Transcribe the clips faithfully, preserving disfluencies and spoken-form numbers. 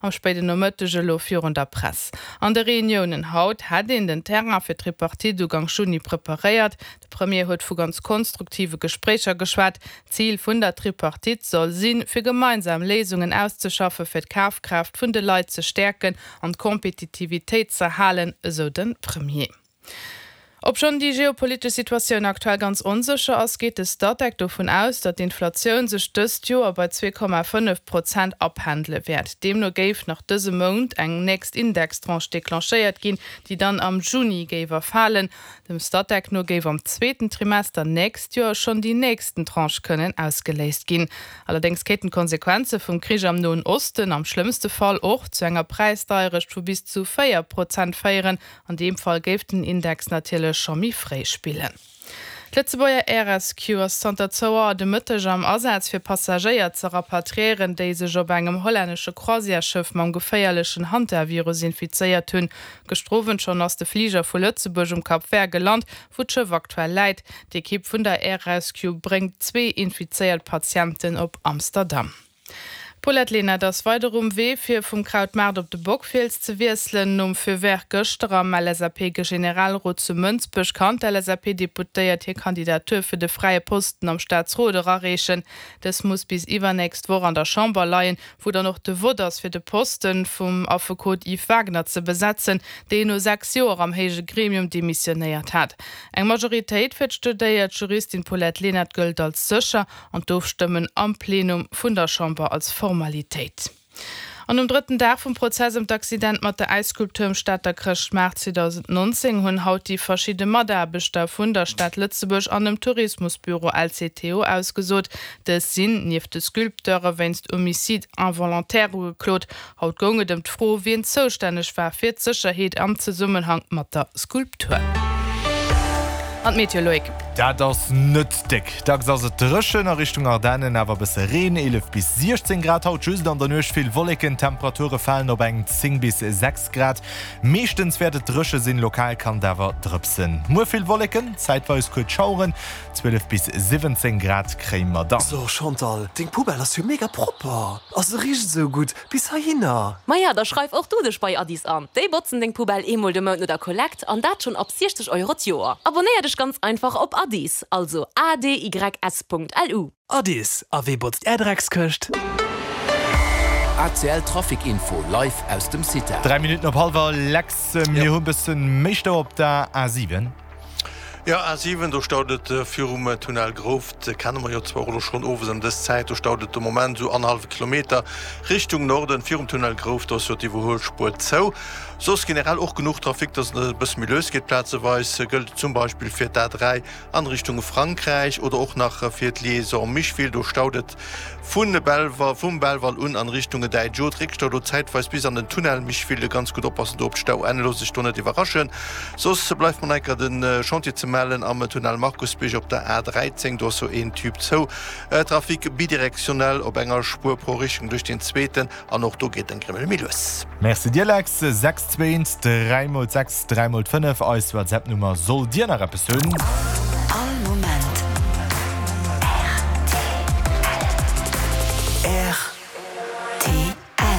am spéiden Nomëtteg elo virun der Press. An de Reuniounen haut hätt een den Terrain fir d'Tripartite Uganks Juni preparéiert. De Premier huet vu ganz konstruktive Gespréicher geschwat. Zil vun der Tripartite soll sinn, fir gemeinsam Léisungen auszeschaffe fir d'Kafkraaft vun de Leit ze stäerken an d'Kompetitivitéit z'erhalen, esou de Premier. Obschonn déi geopolitesch Situatioun aktuell ganz onsécher ass, geet de Statec dovun aus, datt d'Inflatioun sech dëst Joer bei zwee Komma fënnef Prozent apendele wäert. Deemno géif nach dëse Mount eng nächst Indextranche declenchéiert ginn, déi dann am Juni géif erfalen. Dem Statec no géif am zweeten Trimester nächst Joer schonn déi nächsten Tranche kënnen ausgeléist ginn. Allerdéngs kéinten d'Konsequenze vum Krich am Noen Osten am schlëmmste Fall och zu enger Präisdeierecht vu bis zu véier Prozent féieren. An deem Fall géif den Index natierlech scho méi fréi spillen. D'Lëtzebuerger Air Rescue ass zanter zwou Auer de Mëtteg am Asaz fir Passagéier ze rapatriéieren, déi sech op engem hollännesche Croisièresschëff mam geféierlechen Hantavirus infizéiert hunn. Gëschter Owend schonn ass de Fliger vu Lëtzebuerg um Cap Vert gelant, wou d'Schëff aktuell läit. D'Ekipp vun der Air Rescue bréngt zwee infizéiert Patienten op Amsterdam. D'Paulette Lenert ass weider um Wee fir vum Krautmaart op de Bockfiels ze wiesselen. Nom Feu vert gëschter am L S A P-Generalrot zu Mënsbech kann d'L S A P-Deputéiert hir Kandidatur fir de fräie Posten am Staatsrot erareechen. Dës muss bis iwwernächst Woch an der Chamber leien, wou dann och de Vott ass fir de Posten vum Affekot Yves Wagner ze besetzen, deen no sechs Joer am héije Gremium demissionéiert hat. Eng Majoritéit fir d'studéiert Juristin Paulette Lenert gëllt als sécher an d'Ofstëmmen am Plenum vun der Chamber als Formalitéit. An um drëtten Dag vum Prozess ëm d'Accident mat der Äisskulptur um Stater Chrëschtmaart zweedausendnonzéng hunn haut déi verschidde Mataarbechter vun der Stad Lëtzebuerg an dem Tourismusbüro L C T O ausgesot. Dës sinn, nieft de Sculpteure, wéinst Homicide involontaire ugeklot. Haut goung et ëm d'Fro, wien zoustänneg war fir d'Sécherheet am Zesummenhang mat der Skulptur. An d'Meteo, Loïc. Dat ass net déck. Dacks ass et dréchen, a Richtung Ardennen awer e bësse Reen, eelef bis siechzéng Grad haut, just an der Nuecht vill Wolleken. D'Temperature falen op eng zéng bis sechs Grad. Meeschtens wäert et dréche sinn, lokal kann et awer drëpsen. Muer vill Wolleken, zäitweis kuerz Schaueren, zwielef bis siwwenzéng Grad kréie mer dann. So Chantal, deng Poubelle ass jo mega propper a se richt esou gutt bis heihinner. Maja, da schreif och du dech bei Addis an. Déi botzen deng Poubelle eemol de Mount no der Kollekt an dat schonn ab siechzeg Euro d'Joer. Abonnéier dech ganz einfach op Addis, also A D Y S Punkt L U. Addis, a wee botzt är Dreckskëscht? A C L Trafic Info live aus dem Cita. Dräi Minutten op hallwer, Lex, mir hu e bësse méi Stau op der A siwen. Jo, A siwen, do staut et virum Tunnel Grouft, kenne mer jo zwar och elo schonn owes ëm dës Zäit. Do staut et de Moment esou annerhallwe Kilometer Richtung Norden virum Tunnel Grouft, do ass jo d'Iwwerhuelspuer zou. Soss generell och genuch Trafic, dass et e bësse méi lues geet plazeweis. Gëllt zum Beispill fir d'A dräi an Richtung Frankräich oder och nach fir d'Liaison Micheville, do staut et vu Belval, vum Belval un an Richtung Däitsch Réckstau do zäitweis bis an den Tunnel Micheville. Ganz gutt oppassen do op d'Stauenn, looss sech do net iwwerraschen. Soss bleift mer nach enker de Chantier ze mellen am Tunnel Markusbierg op der A dräizéng, do ass sou een Tube zou. Trafic bidirektionell op enger Spuer pro Richtung duerch deen zweeten an och do geet en Grimmel méi lues. Merci dir Lex. Sechs zwee eent dräi mol sechs dräi mol fënnef, eis WhatsApp Nummer sollt dir nach eppes hunn. All Moment R T L.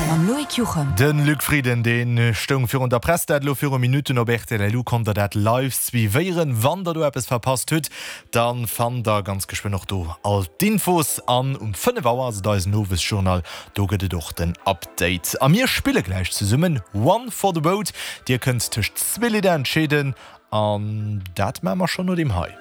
Mam Loïc Juchem. De Luc Frieden, dee stoung virun der Press, dat elo viru Minutten op R T L L U konnt der dat live suivéieren. Wann der do eppes verpasst hutt, da fannt der ganz geschwënn och do all d'Infos. An um fënnef Auer ass et eisen Owesjournal, do gëtt et och den Update. A mir spille gläich zesummen One for the Road. Dir kënnt tëscht zwee Lidder entscheeden an dat maache mer schonn no deem hei.